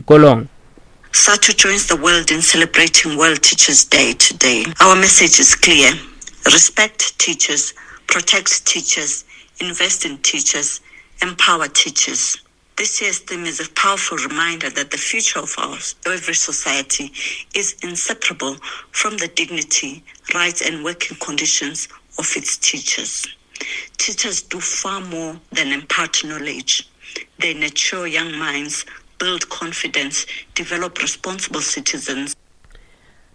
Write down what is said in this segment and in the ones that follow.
dikolong. SADTU joins the world in celebrating World Teachers Day today. Our message is clear. Respect teachers, protect teachers, invest in teachers, empower teachers. This year's theme is a powerful reminder that the future of our every society is inseparable from the dignity, rights and working conditions of its teachers. Teachers do far more than impart knowledge. They nurture young minds, build confidence, develop responsible citizens.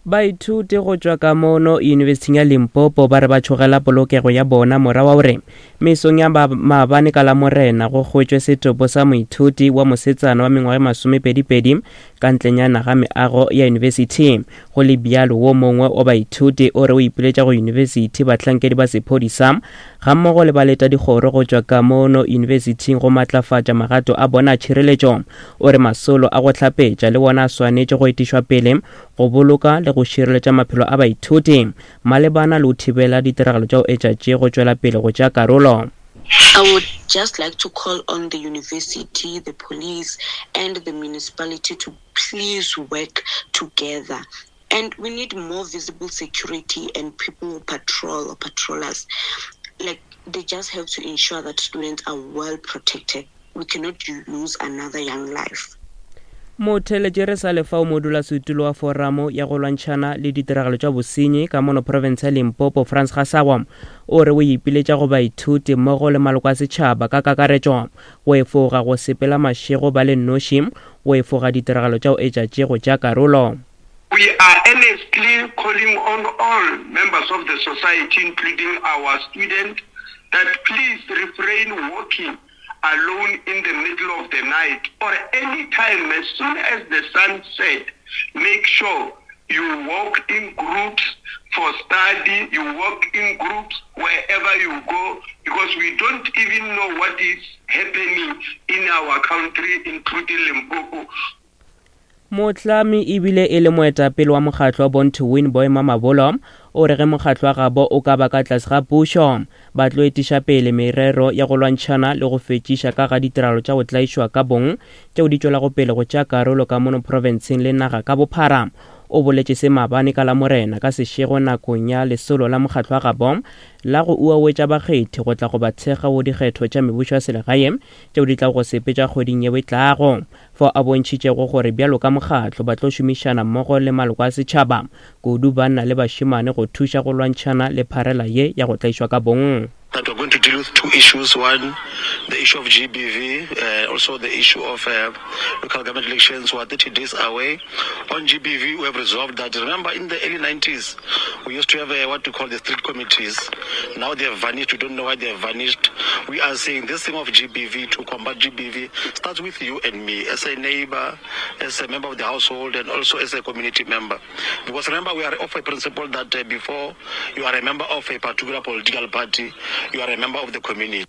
Baithuti go tšwa ka mono Yunibesithing ya Limpopo ba re ba tšhogela polokego ya bona morago wa gore mesong ya maabane ka Lamorena go hwetšwe setopo sa moithuti wa mosetsana wa mengwaga e masomepedipedi ka ntlenyana ga meago ya yunibesithi. Go le bjalo, wo mongwe wa baithuti o re o ipiletša go yunibesithi, bahlankedi ba sephodisa gammogo le baletadikgoro go tšwa ka mono yunibesithing go matlafatša magato a bona a tšhireletšo. O re masolo a go hlapetša le wona a swanetše go etišwa pele go boloka le go šireletša maphelo a baithuti malebana le go thibela ditiragalo tša go etša tše go tšwela pele go tšea karolo. I would just like to call on the university, the police and the municipality to please work together. And we need more visible security and people who patrol or patrollers. Like, they just have to ensure that students are well protected. We cannot lose another young life. Motheeletši re sa le fao modulasetulo wa Foramo ya go lwantšhana le ditiragalo tša bosenyi ka mono profense ya Limpopo Frans Gasawa o re o ipiletša go baithuti mmogo le maloko a setšhaba ka kakaretšo go efoga go sepela mašego ba le nnoši go efoga ditiragalo tša go etša tše go tšea karolo. We are earnestly calling on all members of the society including our students that please refrain walking alone in the middle of the night or any time as soon as the sun set make sure you walk in groups for study you walk in groups wherever you go because we don't even know what is happening in our country including Limpopo. Mohlami ebile e le moetapele wa mokgatlo wa Born to Win Boy Mamabolo o re ge mokgatlo wa gabo o ka ba ka tlase ga pušo ba tlo etiša pele merero ya go lwantšhana le go fetšiša ka ga ditiragalo tša go tlaišwa ka bong tšeo di tšwelago pele go tšea karolo ka mono profenseng le naga ka bophara. O boletše se maabane ka Lamorena ka sešego nakong ya lesolo la mokgatlo wa gabo la go uawetša bakgethi go tla go ba thekga go dikgetho tša mebušo ya selegae tšeo di tlago go sepetša kgweding yeo e tlago. fao a bontšhitšego gore bjalo ka mokgatlo ba tlo šomišana mmogo le maloko a setšhaba, kudu banna le bašemane go thuša go lwantšhana le pharela ye ya go tlaišwa ka bong. That we're going to deal with two issues, one, the issue of GBV, uh, also the issue of uh, local government elections. We are 30 days away. On GBV, we have resolved that. Remember, in the early 90s, we used to have uh, what we call the street committees. Now they have vanished. We don't know why they have vanished. We are saying this thing of GBV, to combat GBV, starts with you and me as a neighbor, as a member of the household, and also as a community member. Because remember, we are of a principle that uh, before you are a member of a particular political party, you are a member of the community.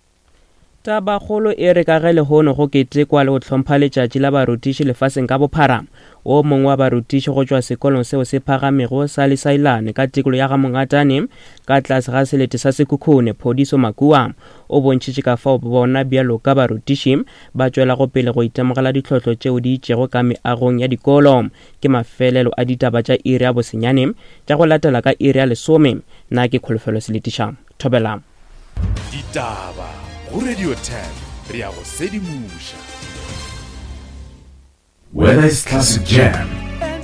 Tabakgolo e re ka ge lehono go ketekwa le go hlompha letšatši la barutiši lefaseng ka bophara, wo mongwe wa barutiši go tšwa sekolong seo se phagamego sa Lesailane ka tikolo ya ga Mongatane ka tlase ga selete sa Sekhukhune, Phodiso Makua, o bontšhitše ka fao bona bjalo ka barutiši ba tšwelago pele go itemogela ditlhohlo tšeo di itšego ka meagong ya dikolo. Ke mafelelo a ditaba tša iri ya bosenyane tša go latela ka iri ya lesome. Na ke Kholofelo Seletiša. Thobela. Ditaba go Radio 10 re ya go sedimoša. Whether it's classic jam,